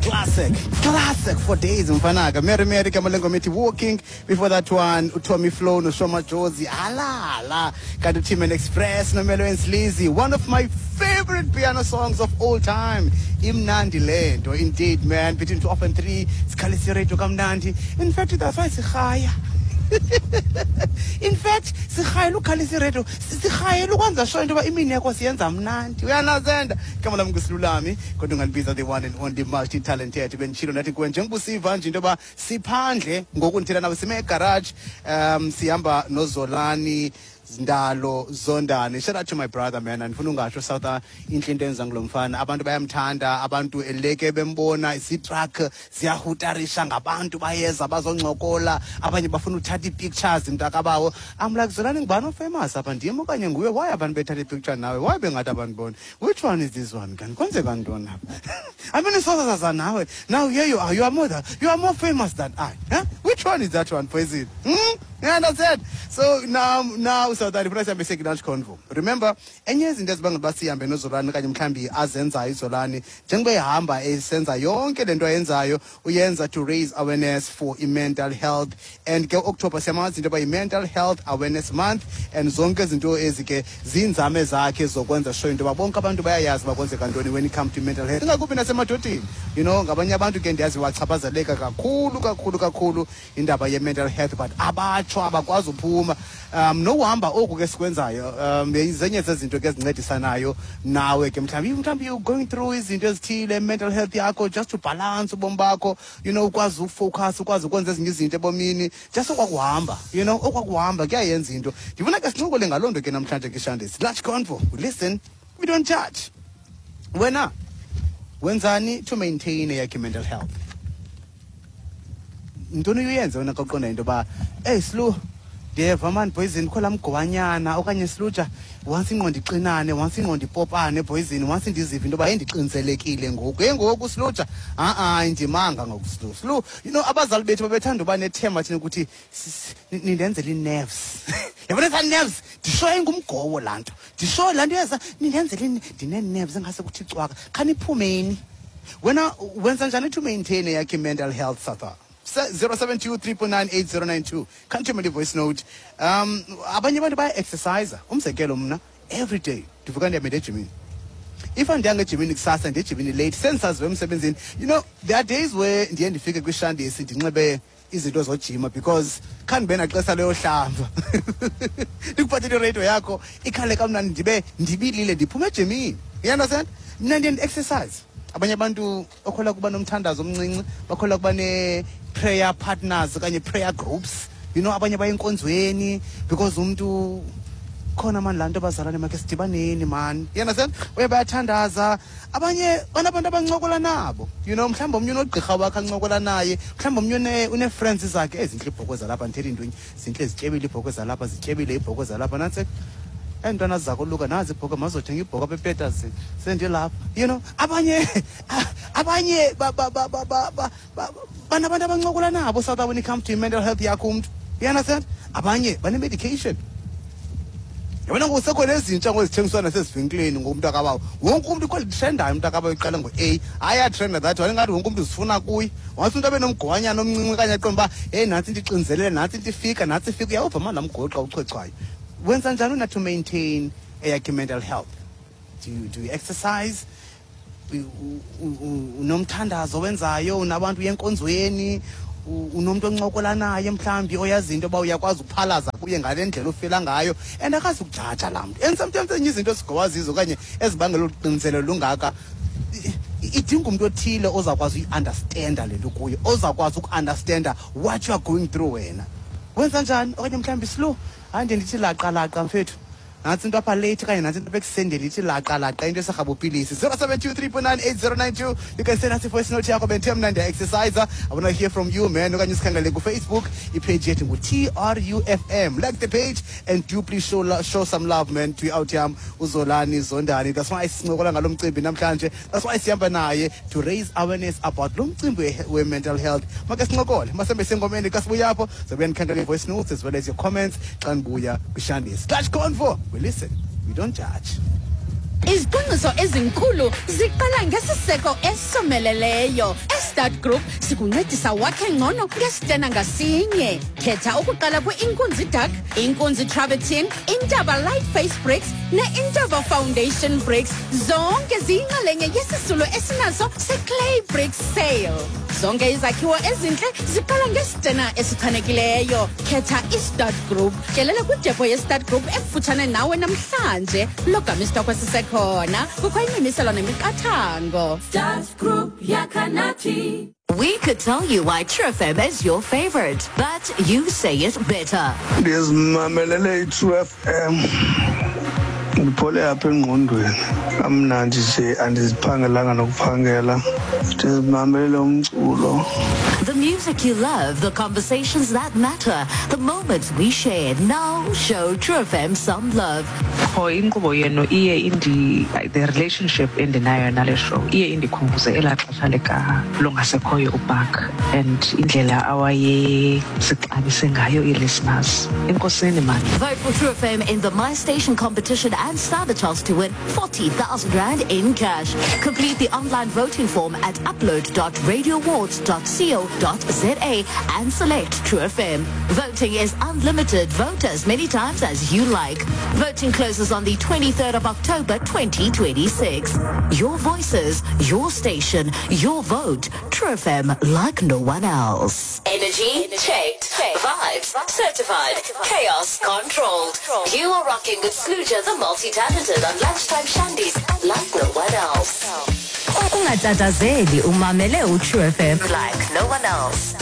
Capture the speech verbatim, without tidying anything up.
Classic, classic for days, mfanaka. Mary Mary Kamalengo Miti walking. Before that one, Tommy Flow no Shoma Jozi. Ala ala. Kanti Team and Express no Melo and Sleazy. One of my favorite piano songs of all time. Imnandi lento, indeed, man. Between twelve and three, sikhalisa radio kamnandi. In fact, that's why sirhaya. In fact, sirhayela ukhalisa iradio, sirhayela ukwenza sure into yoba imini yakho siyenza mnandi. Uyanazenda. Igama lam nguSilulami, kodwa ungandibiza the one and only multi talented. Benditshilo ndathi kuwe njengoba usiva nje into yoba siphandle ngoku ndithetha nawe sime egarage, um sihamba noZolani Ndalo Zondani. Shout out to my brother, man. Andifuna ungatsho, South, intle into enza ngulo mfana. Abantu bayamthanda, abantu eleke bembona, isitruck ziyahutarisha ngabantu, bayeza bazoncokola, abanye bafuna uthatha ii-pictures, mntakabawo. I'm like, "Zolani, ngubani ofamous apha, ndim okanye nguwe? Why abantu bethatha ipicture nawe? Why bengathi abandiboni? Which one is this one? Kanti kwenzeka ntoni apha? I mean, isozazaza nawe. Now here you are, you are more than, you are more famous than I. Huh? Which one is that one, Poison? Hmm? You understand?" So now, now, South Africa sihambe siye convo. Remember, enye yezinto ezibangela uba sihambe noZolani okanye mhlawumbi azenzayo iZolani, njengoba ehamba esenza yonke le nto ayenzayo, uyenza to raise awareness for i-mental health. And ke October siyamazi into yoba yi-Mental Health Awareness Month, and zonke izinto ezi ke ziinzame zakhe zokwenza sure into yoba bonke abantu bayayazi uba kwenzeka ntoni when it come to mental health, ingakumbi nasemadodeni. you know ngabanye abantu ke ndiyazi wachaphazeleka kakhulu kakhulu kakhulu indaba ye-mental health, but abatsho, abakwazi uphuma. um nokuhamba oku ke sikwenzayo, um zenye zezinto ke ezincedisanayo nawe ke. Mhlawumbi mhlawumbi you going through izinto ezithile, mental health yakho, just to balance ubomi bakho, you know ukwazi ufocus, ukwazi ukwenza ezinye izinto ebomini. Just okwakuhamba, you know okwakuhamba kuyayenza into. Ndifuna ke sincokole ngaloo nto ke namhlanje ke Shandis Large Convo. We listen, we don't judge. Wena wenzani to maintain eyakhe mental health? Ntoni uyenze wena xa uqonda into yoba, "Eyi Silu, ndiyeva mani poison, kho laa mgowanyana," okanye, "Siluja, once ingqondo ixinane, once ingqondo ipopane poison, once ndizive into yoba heyi ndixiniselekile ngoku, heyi ngoku Siluja, ha-a ndimanga ngoku Silu Silu you know Abazali bethu babethanda uba nethemba thina ukuthi nindenzela ii-nerves, yabona ezaa nerves, ndishoyo ingumgowo laa nto, ndishoyo laa nto yeza nindenzela, ndinee-nerves engase kuthi cwaka khaniphumeni. Wena wenza njani to maintain eyakhe i-mental health, Satha? zero seven two, three nine eight, zero nine two. Khanthume voice note. um abanye abantu baya-exercise. Umzekelo, mna every day ndivuka ndihambe ejimini. If andiyanga ejimini kusasa, ndiye ejimini late, sendisaziwe emsebenzini. you know there are days where ndiye ndifike kwishandisi ndinxibe izinto zojima because khandibe naxesha leyohlamba, ndikuphathele iradio yakho ikhale kamnandi, ndibe ndibilile, ndiphume ejimini. You understand? Mna ndiye ndi-exercise. Abanye abantu okholwa kuba nomthandazo omncinci, bakholwa kuba ne-prayer partners okanye prayer groups. you know abanye baye enkonzweni because umntu khona mani laa nto, bazalwane makhe sidibaneni mani. You understand? Uye bayathandaza. Abanye banabantu abancokola nabo. you know mhlawumbi omnye unogqirha wakhe ancokola naye, mhlawumbi omnye une-friends zakhe ezintle. Iibhokhwe zalapha, ndithetha intwenye, zintle, zityebile iibhokhwe zalapha, zityebile iibhokhwe zalapha. Nantsi eentwana zakoluka, nazi ibhokhwe, mazothenga ibhokhwe apha epeterson, sendilapha. you know abanye abanye banabantu abancokola nabo, South, when it comes to mental health yakho umntu. You understand? Abanye bane-medication. Yabona ngoku sekhona ezintsha ngozithengiswa nasezivenkileni ngomntu akabawo. Wonke umntu ikhona itrendayo, umntu akabawo, iqala ngo-A, ayatrenda that one, ingathi wonke umntu uzifuna kuye. Once umntu abe nomgowanyana omncinci okanye aqonde uba heyi nantsi into ixinzelele, nantsi into ifika, nantsi ifika, uyawuva mani laa mgowo xa uchwechwayo. Wenza njani wena to maintain eyakhe mental health? do you, do you exercise? U- u- u- unomthandazo wenzayo? Unabantu uye enkonzweni? U- unomntu oncokola naye mhlawumbi oyazi into yoba uyakwazi ukuphalaza kuye ngale ndlela ufila ngayo and akazi ukujaja laa mntu? And sometimes ezinye izinto esigowa zizo okanye ezibangela uxinizelelo lungaka i- i- idinga umntu othile ozawukwazi uyi-understanda le nto kuyo, ozawukwazi uku-understanda what you are going through. Wena wenza njani? Okanye mhlawumbi, "Slow, hayi ndiye ndithi laqa laqa mfethu, nantsi into apha late," okanye nantsi into apha ekusendele, ithi laqa laqa into esarhabupilisi. zero seven two, three nine eight, zero nine two. You can send us i-voice note yakho. Bendithe mna ndiya-exercise. I wanna hear from you, man. Okanye sikhangele kuFacebook, ipage yethu ngu-T R U F M. Like the page and do please show, lo- show some love, man, to out yam uZolani Zondani. That's why sincokola ngalo mcimbi namhlanje, that's why sihamba naye to raise awareness about lo mcimbi we- we-mental health. Make sincokole masembe sengomeni. Xa sibuya apho zobuya ndikhangele i-voice notes as well as your comments xa ndibuya kwishandis Slash Convo. We listen, we don't judge. Izicwangciso ezinkulu ziqala ngesiseko esomeleleyo. E-Start Group sikuncedisa wakhe ngcono ngesitena ngasinye. Khetha ukuqala kwi-Inkunzi Dark, Inkunzi Travertine, Intaba Light Face Bricks ne-Intaba Foundation Bricks. Zonke ziyinxalenye yesisulo esinaso se-Clay Bricks Sale. Zonke izakhiwo ezintle ziqala ngesitena esichanekileyo. Khetha i-Start Group. Tyelela kwidepo ye-Start Group ekufutshane nawe namhlanje. Logama isitokwe sisekhona. Kukho imimiselo nemiqathango. Start Group Yakanati. We could tell you why True F M is your favorite, but you say it better. Ndizimamelele i-True F M, ndiphole apha engqondweni kamnandi nje, andiziphangelanga nokuphangela, ndizimamelele umculo. The music you love, the conversations that matter, the moments we share. Now show True F M some love. Qho inkqubo yenu iye indi the relationship endinayo nale show iye indikhumbuze elaa xesha lika longasekhoyo uBark and indlela awayesixabise ngayo ii-listeners. Enkosini mani. Vote for True F M in the My Station competition and stand a chance to win forty thousand rand in cash. Complete the online voting form at upload dot radioawards dot co dot za and select True F M. Voting is unlimited. Vote as many times as you like. Voting closes on the twenty-third of October twenty twenty-six. Your voices, your station, your vote. True F M, like no one else. Energy checked. Vibes certified. Chaos controlled. You are rocking with Sluja the multi-talented on Lunchtime Shandies like no one else. Ungatatazeli, umamele uTrue F M like no one else.